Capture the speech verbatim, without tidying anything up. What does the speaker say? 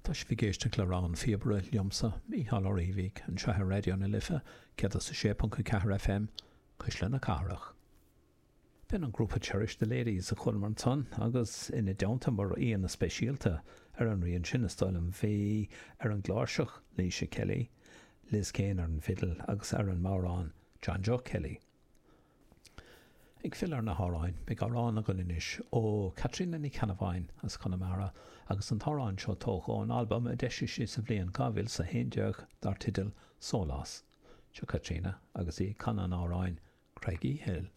Tá sibh ag éisteacht le Rogha an Phíobaire liomsa, Mícheál Ó Riabhaigh, anseo ar Raidió na Life, céad is a sé ponc a ceathair FM, Cuisle na Cathrach. B'in an grúpa Cherish the Ladies a chualamar ansan agus ina dteannta mar aíonna speisialta ar an rian sin is dóigh liom bhí ar an gcláirseach Laoise Kelly, Liz Kane ar an bhfidil agus ar an mbodhrán John Joe Kelly. Ag filleadh ar na hamhráin, beidh amhrán againn anois ó Caitríona Ní Cheannabháin as Conamara agus an t-amhrán seo tógtha ón albam a d'eisigh sí sa bhliain dhá mhíle is a haon déag dar teideal Sólás. Seo Caitríona agus í ag canadh an amhráin Craigie Hill.